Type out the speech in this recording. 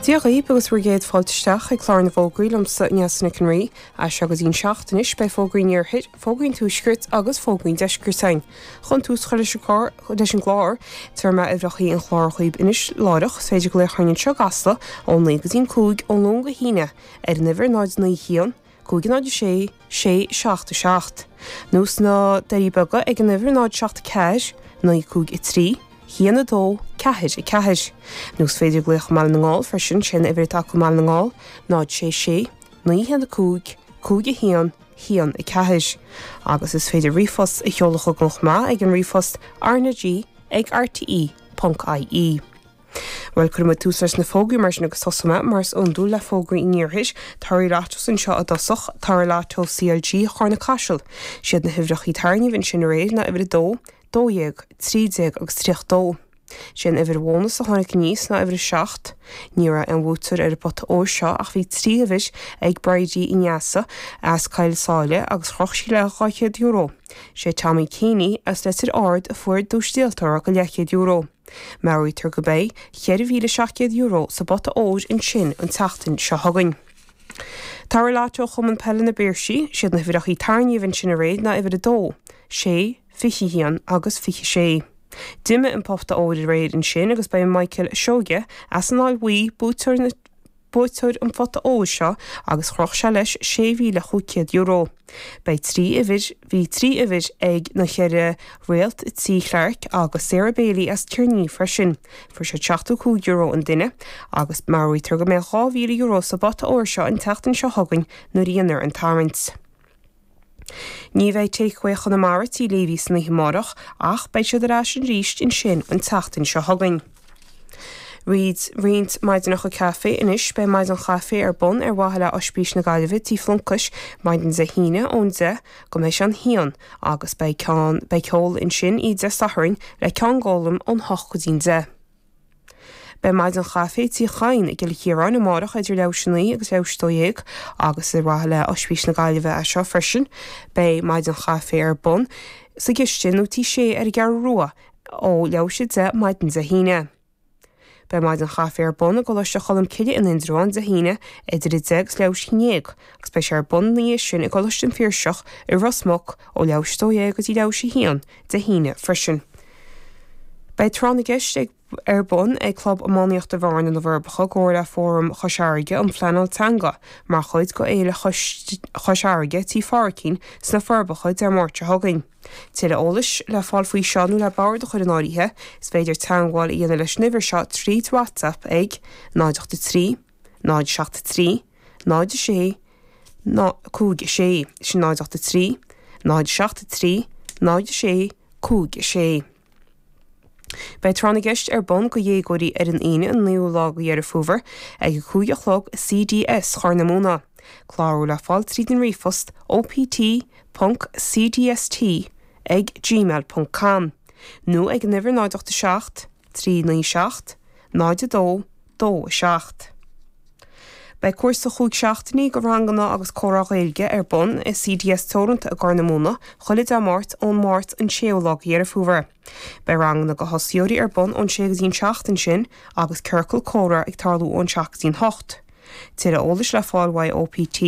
Dia dhaoibh agus bhur gcéad fáilte isteach ag clár na bhfógraí liomsa, Neasa Nic an Rí. As seo go dtí'n seacht anois beidh fógraí an iarthair, fógraí an tuaiscirt agus fógraí an deiscirt againn. Chun tús a chur leis an gclár, leis an gclár, tabharfaidh mé uimhreachaí an chláir dhaoibh anois láithreach. Is féidir glaoch orainn anseo i gCasla ó 9 go dtí'n 5 ó Luan go hAoine ar an uimhir 0 9 1 5 0 6 6 7 7. Nó sna Doirí Beaga ag an uimhir 0 7 4 9 5 3 1 2 4 4. Nó is féidir glaoch i mBaile na nGall freisin, sé an uimhir atá acu i mBaile na nGall 0 6 6 9 1 5 5 1 1 4. Agus is féidir ríomhphost a sheoladh chugainn chomh maith ag an ríomhphost rnag ag rte ponc ie. Bhuel, cuirfidh muid tús leis na fógraí mar sin agus tosóidh mé, mar is iondúil, le fógraí an iarthair. Toraigh Lottos anseo i dtosach, Toraigh Lotto CLG Charna Caiseal. Siad na huimhreachaí tairngimh ansin aréir ná uimhir 2, 12, 13 agus 32. Sé an uimhir bhónas a tháinig aníos ná uimhir 7. Ní raibh aon bhuaiteoir ar an bpota óir seo ach bhí 3 uimhir ag Bridie Uí Neasa as Coill Sáile agus chroch sí léi €200. Sé Tommy Keeney as Leitir Ard a fuair duais díoltóra go leathchéad euro. Meabhraítear go mbeidh €4,700 sa bpota óir ansin an tseachtain seo chugainn. Toraigh Lotto Chumann Peile na bPiarsaigh, siad na huimhreachaí tairngimh ansin aréir ná uimhir 2, 6, 21 agus 26. D'imigh an pota óir aréir ansin agus ba é Michael Seoige as an Fháil Bhuí buaiteoir na buaiteoir an phota óir seo agus chroch sé leis €6,500. Beidh 3 uimhir, bhí 3 uimhir ag na cheithre réalt Tí Clarke agus Sarah Bailey as Tír an Fhia freisin. Fuair siad €75 an duine agus meabhraítear go mbeidh €2,000 sa bpota óir seo an tseachtain seo chugainn nuair a dhéanfar an tarraingt. Ní bheidh Takeaway Chonamara Tí Leavey san oíche amárach ach beidh siad ar ais arís ansin an tseachtain seo chugainn. Roinnt roinnt maidineacha caife anois Beidh maidin chaife ar bun ar mhaithe le Oispís na Gaillimhe Tí Phlonchais maidin Dé hAoine ón 10 go mbeidh sé an haon agus beidh ceann beidh ceol ansin oíche Dé Sathairn le Ceann Gólaim ón hocht go dtí'n deich. Beidh maidin chaife Tí Chadhain i gCill Chiaráin amárach idir leathuair théis a naoi agus leathuair théis a 12 agus ar mhaithe le Oispís na Gaillimhe é seo freisin. Beidh maidin chaife ar bun sa gcistin nó Tí Sé ar an gCeathrú Rua ó leathuair théis a 10 maidin Dé hAoine. Beidh maidin chaife ar bun i gColáiste Cholmcille in Indreabhán Dé hAoine idir 10 agus leathuair théis a 11 agus beidh sé ar bun ina dhiaidh sin i gColáiste an Phiarsach i Ros Muc ó leathuair théis a 12 go dtí leathuair théis a 1 Dé hAoine freisin. Beidh Tráth na gCeist ag ar bun ag Club Iománaíochta Bhearna, Na Forbacha i gcomhar le Fóram Chois Fharraige um Phleanáil Teanga mar chuid de Fhéile Chois Fharraige Tí Phádraicín sna Forbacha Dé Máirt seo chugainn. Tuilleadh eolais le fáil faoi seo nó le bord a chur in áirithe, is féidir teagmháil a dhéanamh leis an uimhir seo tríd WhatsApp ag 0 8 3 0 7 3 0 6 5 6, sin 0 8 3 0 7 3 0 6 5 6. Beidh Tráth na gCeist ar bun go dhéagóirí ar an Aoine an 9ú lá go Dheireadh Fómhair ag 5 a chlog i CDS Chorr na Móna. Clárú le fáil tríd an ríomhphost opt ponc cdst ag gmail ponc com nó ag an uimhir 0 8 7 3 9 7 0 2 2 7. Beidh cúrsa chúig seachtainí de ranganna agus comhrá Gaeilge ar bun i CDS Teoranta i gCorr na Móna chuile Dé Máirt ón Máirt an 6ú lá de Dheireadh Fómhair. Beidh ranganna do thosaitheoirí ar bun ón 6 go dtí an 7 ansin agus ciorcal comhrá ag tarlú ón 7 go dtí an 8. Tuilleadh eolais le fáil uaidh OPT.